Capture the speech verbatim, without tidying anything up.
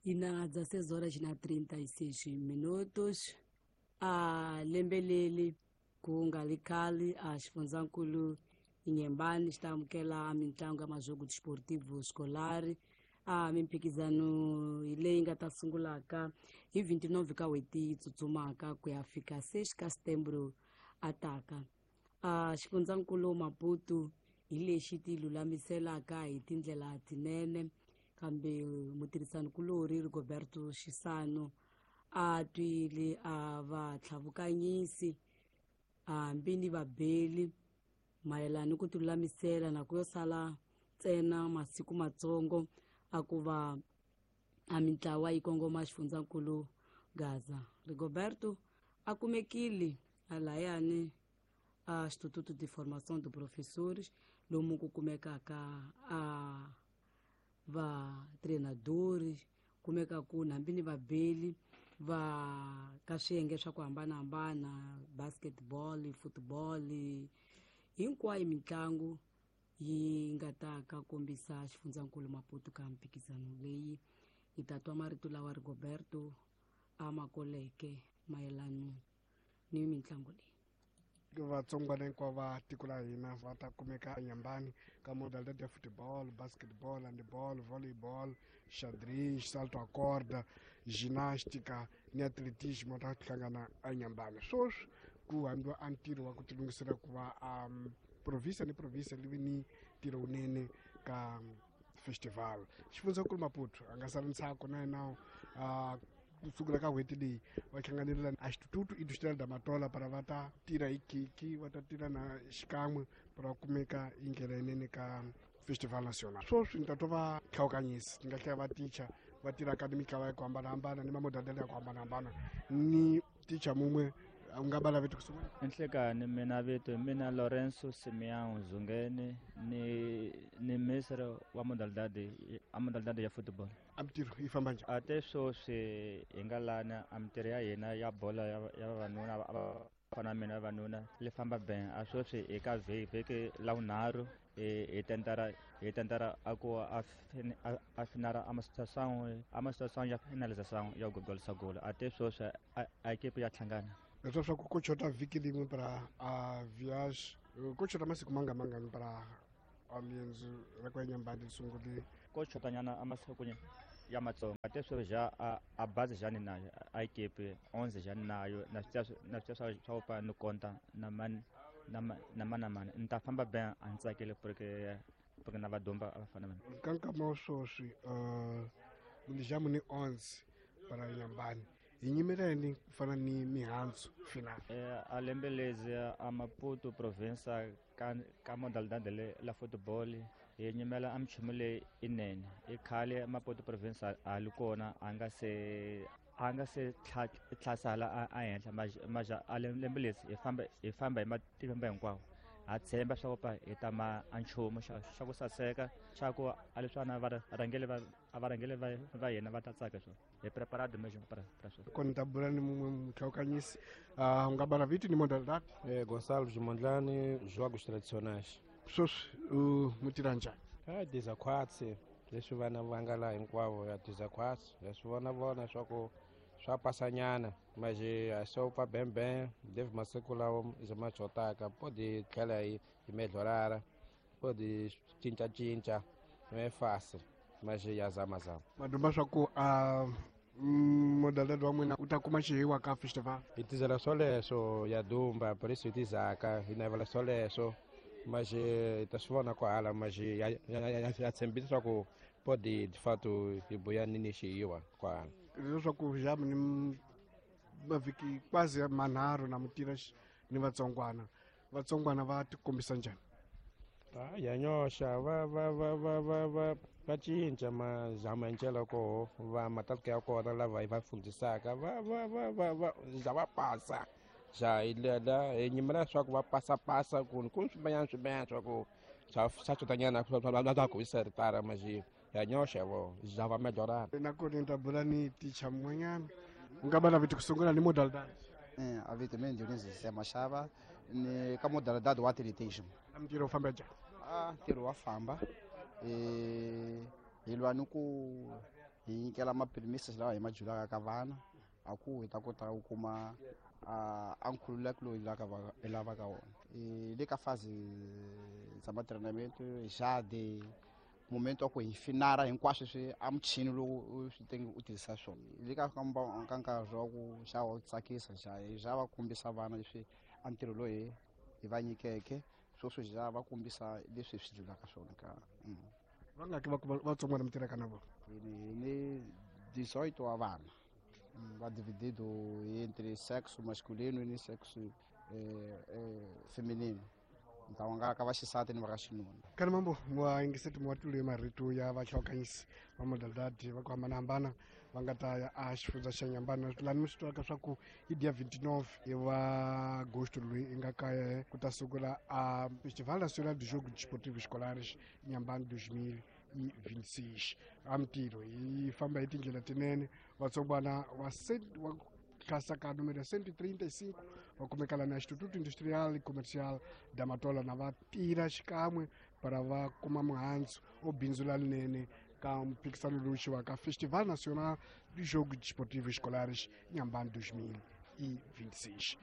Yi na dezesseis horas na trinta e seis minutos. A lembe leri ku nga ri khale a xifundzankulu Inhambane xi ta amukela mitlangu ya majogo desportivo escolar. A mimphikizano hi leyi nga ta sungulaka hi vinte e nove ka n'hweti yi tsutsumaka ku ya fika seis ka setembro a taka. A xifundzankulu Maputo hi lexi ti lulamiselaka hi tindlela tinene, kambe mutirhisanikulorhi Rigoberto Chissano a twile a va tlhavukanyisi hambi ni vabeli mayelana ni ku tilulamisela na ku yo sala ntsena masiku matsongo a ku va a mintlawa yi kongoma xifundzankulu Gaza. Rigoberto a kumekile alayani a Instituto de Formação de Professores lomu ku kumekaka a va treinadores, kumekaku hambi ni vabeli va ka swiyenge swa ku hambanahambana, basketball, football, hinkwayo mitlangu yi nga ta ka kombisa xifundzankulu Maputo ka mphikizano leyi. Hi ta twa marito lawa Rigoberto a ma koleke mayelana ni mitlangu leyi. Vatsongwana hinkwavo va tiko la hina va ta kumeka eNyambani ka modalidade ya football, basketball, handball, volleyball, xadrez, salto a corda, ginástica ni atletismo ta hlangana eNyambani. Sweswi ku hambiwa a ntirho wa ku tilunghisela ku va um, província ni província li vi ni ntirho wunene ka festival. Xifundzankulu Maputo a nga sali ntsako na yena uh, kusukela ka n'hweti leyi va hlanganela a Instituto Industrial da Matola para va ta tirha hi khiki, va ta tirha na xikan'we para va kumeka hi ndlela yinene ka festival national. Sweswi ni ta twa va hlawukanyisi ni nga hlaya va ticha va tirhaka ni mitlawa ya ku hambanahambana ni mamodalidade ya ku hambanahambana ni ticha mun'we u nga va vito ku sungula. Enhlekani mina vito mina Lorenzo Simeão Zungeni ni ni ministre wa modalidade a modalidade ya football. A mintirho yi famba njhani? A te sweswi hi nga lana a mintirho ya hina ya bolo ya ya vavanuna va fana mina vavanuna li famba ben. A sweswi hi ka vhiki vhiki la vunharhu hi hi tentara hi tentara a ku a a finara a masituação a masituação ya finalização ya gogolisa golo. A te sweswi a a equipe ya hlangana. Leswi swa ku ku chota vhiki rin'we para a viage ku chota masiku manga mangani para a riendzo ra ku ya Nyambani sungule? Ko chotanyana a masiku ya matsongo. A te sweswi ja a a bazi ja ni nayo a equipe onze ja ni nayo na swi na swi swa swa ku ni konta na mani na na mana mani ni ta famba ben a ni tsakile porque porque na vadomba a va fana mina. Ka nkama wa sweswi uh ni ni onze para Nyambani hi nyimela yini ku fana ni mihandzu final? Eh a lembe lezi a Maputo province ka ka modalidade le la football hi nyimela a minchumu leyi inene. I khale Maputo province a li kona a nga se a nga se tlhasala a henhla maja a lembe lezi hi famba hi famba hi matimba hinkwawo. Ha tshemba swa ku hi ta ma a nchumu xa xa ku saseka xa ku a leswi va rhangeli va a va rhangeli va va hina va ta tsaka swona. Hi preparado mesmo para para swona. Kona ta bula ni mun'we mutlhawukanyisi uh, u nga bala vito ni modalidade? Eh, Gonçalo Mondlane, jogos tradicionais. Sweswi u mu tirha njhani? Ah, dezaquatro, leswi vana va nga laha hinkwavo ya dezaquatro, ya swi vona vona swa ku swa pasanyana, mas a só pa bem bem, deve masiku lawa ma chotaka, pode tlhela yi yi melhorara, pode cinca cinca, não é fácil, mas ya zama zama. Madumba swa ku a modalidade wa n'wina u ta kuma xihiwa ka festival? Hi tizela swoleswo ya dumba, por isso hi tizaka, hi navela swoleswo, mas hi ta swi vona kwahala, mas ya ya ya tshembisa swa ku pode de fato hi buya nini xihiwa kwahala. Leswaku jamu ni mavhiki quase manharhu na mutira ni vatsongwana vatsongwana va tikombisa njhani? Ah, ya nyoxa va va va va va va va cinca mazama hi ndlela koho va matatuka ya kona lava hi va fundisaka va va va va va ja va pasa ja hi lela hi nyimela leswaku va pasapasa ku ku swimanyana swimanyana swa ku swa swa chotanyana swa ku wisa ritara maji ya nyoxa vo ja va melhorana. Na kona ni ta bula ni ticha mun'wanyana u nga va vito ku sungula ni modalidade? Eh, a vito mina Dionísio Zé Machava ni ka modalidade wa atletismo. Ntirho wu famba njhani? Ah, ntirho wa famba. Eh, hi lwa ni ku Hi nyikela mapirimisi lawa hi ma julaka ka vana a ku hi ta kota ku kuma a nkhululeko lowu hi lavaka wona. Le ka fase dza matreinamento já de momento wa ku hi finara hinkwaswo swi a muchini lowu swi tenge u tirhisa swona. Le ka ka nkarhi wa ku xa wa tsakisa xa xa va kombisa vana leswi a ntirho lowu hi hi va nyikeke sweswo xa va kombisa leswi hi swi julaka swona ka va nga ki va vatsongwana mi tirhaka na vona. Hi ni dezoito wa vana va dividido entre sexo masculino ni sexo eh, eh, feminino. Ntlawa nga ka vaxisati ni va ka xinuna. Kani mambo wa yingiseti wa tulu marito ya vahlokanyisi va modalidade va ku hambanahambana va nga ta ya a xifundza xa Nyambani. Lani mi swi twaka swa ku hi dia vinte e nove wa agosto loyi i nga kaya ku ta sungula a Festival Nacional de Jogos Desportivos Escolares Nyambani dois mil e vinte e seis. A mintirho yi famba hi tindlela tinene. Vatsongwana wa wa klasa ka número cento e trinta e cinco va kumeka la na Instituto Industrial e Comercial da Matola na va tirha xikan'we para va kuma muhandzu o bindzula linene ka mphikisano lowu xiwaka Festival Nacional de Jogos Desportivos Escolares Nyambani dois mil e vinte e seis.